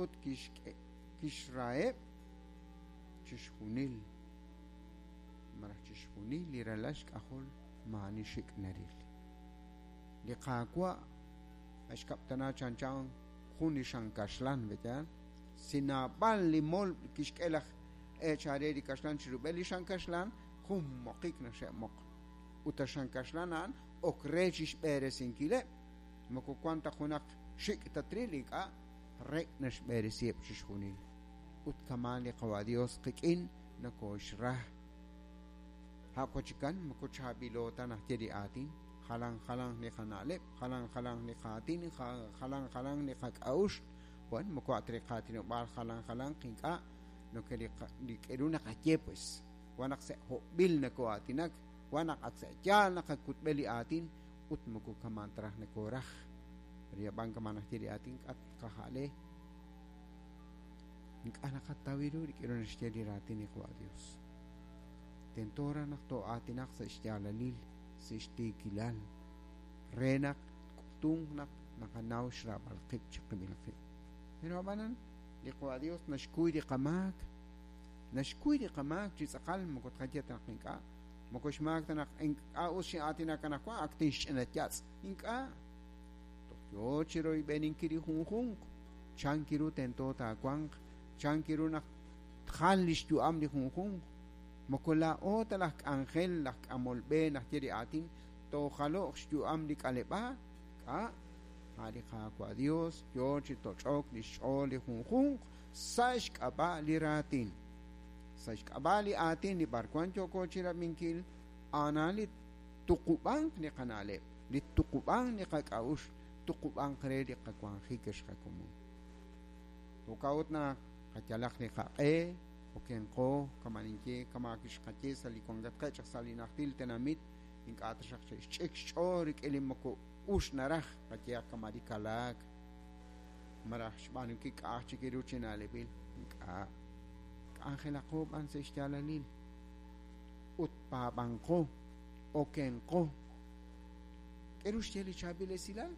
Ut kixk'e kixraheb' chixjunil malaj chixjunil li ralal xk'ajol maa'ani xik' naril. Li Qaawa' naxkab'tana chanchan jun li xan kaxlan, pe'yaal? Si naab'al li molb' kixk'e laj eechal re li kaxlan chi rub'el li xan kaxlan, jun moqik naxe'moq. Ut a xan kaxlan a'an ok re chixb'eresinkileb', moko wan ta junaq xik' tatril, ink'a', rek' naxb'eresiheb' chixjunil. Ut kama'an li Qawa' Dios qik'in nokooxra. A' wachikan moko chaab'ilo ta naxye li aatin, jalan jalanq li qana'leb', jalan jalanq li qaatin, jalan jalanq li qak'a'uxl. Bueno, moko a' ta li qaatinob'aal jalan jalanq, ink'a', noke li li k'a'ru naqaye pues, wan naq sa' hob'b'il nokoo'aatinak, wan naq ak sa' yaal naqakutb'e li aatin ut moko kama'an ta raj nokooraj. Riab'an kama' naxye li aatin k'at qaja'le, ink'a' naqataw ru rik'in ru naxye li raatin li Qawa' Dios. Tento raj naq too'aatinaq sa' xyaalalil, sa' xtiikilal, re naq tk'utunq naq naqanaw xraab'al qib' chiqib'il qib'. Pero ab'anan, li Qawa' Dios naxkuy li qamaak, naxkuy li qamaak chi tz'aqal, moko tqaye ta naq ink'a', moko xmaak ta naq ink'a' us xin'aatinak anaqwan, ak tinxch'ina yatz'. Ink'a'. Toj yoo chi royb'eninkil li junjunq, chan ru tento taawanq, chan ru naq tjal li xyu'am li junjunq. Moko laa'o ta laj k'anjel, laj k'amol b'e naxye li aatin, toojalo'q xyu'am li k'aleb'aal, k'a' a' li Qaawa' Dios yoo chi toch'ok li xch'ool li junjunq sa' xk'ab'a' li raatin. Sa' xk'ab'a' li aatin li b'arwan yooko chirab'inkil, a'anan li tuqub'anq li qana'leb', li tuqub'anq li qak'a'uxl, tuqub'anq re li qawanjik ex qakomon. Jo'kan ut naq qayalaq li qaq'e, okenqo, kama' ninye, kama' kixqaye sa' li wankatqeb' chaq sa' li najtil tenamit, ink'a' taxaq xe'xch'ik xch'ool rik'in li moko us naraj, qayehaq kama' li kalaak, malaj xb'aanunkil k'a'aj chik ru chi na'leb'il, ink'a'. K'anjelaqo b'an sa' xyaalalil ut paab'anqo, okenqo. K'e ru xye li chaab'il esilal?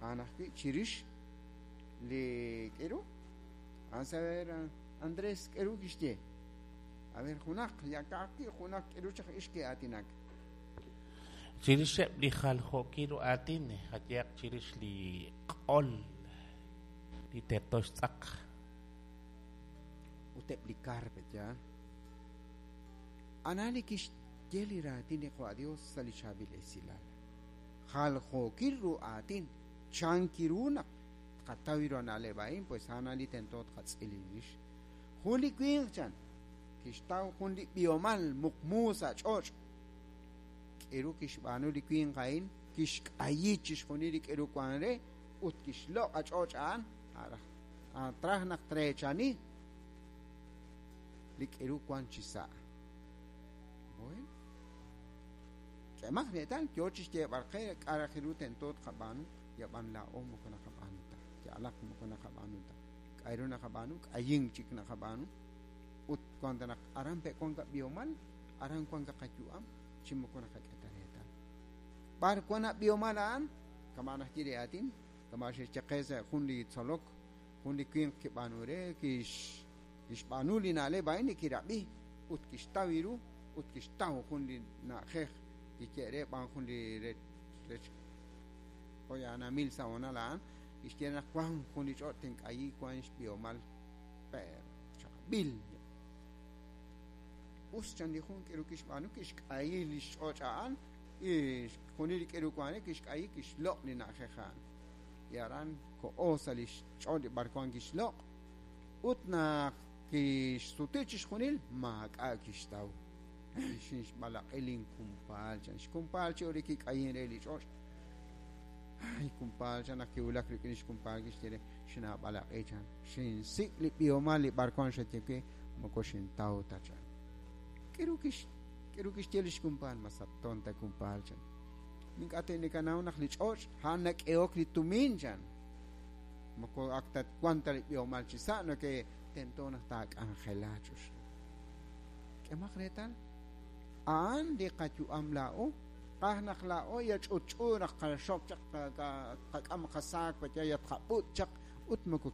A'an ajwi' chirix li k'e ru. A'an saber Andrés k'e ru kixye. A ver, junaq, ya ka'ajwi' junaq k'e ru chaq ix ke'aatinak. Chirixeb' li jaljookil ru aatin, qayehaq chirix li q'ol, li terto xtz'aq. Ut eb' li kar, pe'yaal. Ana li kixye li raatin li Qawa' Dios sa' li chaab'il esilal. Jaljookil ru aatin, chan ru naq tqataw ru na'leb' a'in, pues a'an li tento tqatz'il rix. Jun li winq chan kixtaw jun li b'ihomal muqmu sa' ch'och'. K'eru kixb'aanu li winq a'in, kixk'ayi chixjunil li k'eru wan re ut kixloq' a ch'och' a'an, traj naq treechani li k'eru wan chi sa'. Bueno. K'emaq reetal yoo chixyeeb'al qe k'a' raj ru tento tqab'aanu, yab'an laa'o moko naqab'aanu ta. Ya'alaq moko naqab'aanu ta. K'a' ru naqab'aanu, k'ayink chik naqab'aanu. Ut wan ta naq aran pe' wan qab'ihomal, aran wan qayu'am, chi moko naqak'e ta reetal. B'ar wan ab'ihomal a'an, kama' naxye li aatin, kama' xe'xye qe sa' jun li tzolok, jun li winq kib'aanu re, kixb'aanu li na'leb' a'in li kirab'i, ut kixtaw ru, ut kixtaw jun li na'ajej kixye re b'an jun li rech poyanamil sa' honal a'an, kixye naq wan jun li ch'och' tink'ayi wan xb'ihomal per chaab'il. Us chan li jun k'eru kixb'aanu, kixk'ayi li xch'och' a'an, xjunil li k'eru wan re kixk'ayi kixloq' li na'ajej a'an. Y aran ko'o sa' li xch'och' li b'ar wan kixloq', ut naq kixsuti chixjunil maak'a' kixtaw. Xinxb'alaq'i linkumpaal chan, xkumpaal chi ori kik'ayin re li ch'och'. Ay, kumpaal chan naq kiwulak rik'in xkumpaal kixye re xinaab'alaq'i chan, xinsik' li b'ihomal li b'ar wan xaye we, moko xintaw ta chan. K'eru kixye li xkumpaal, masat tonta kumpaal chan. Ink'a' te'nikanaw naq li ch'och' a'an nak'ehok li tumin chan. Moko ak ta wan ta li b'ihomal chi sa' noke tento naq taak'anjela ch'uxlu. K'emaq reetal, a'an li qayu'am laa'o, qaj naq laa'o ya ch'utch'u naq qaxok chaq qak'am qasaak ya tqab'ut chaq ut moko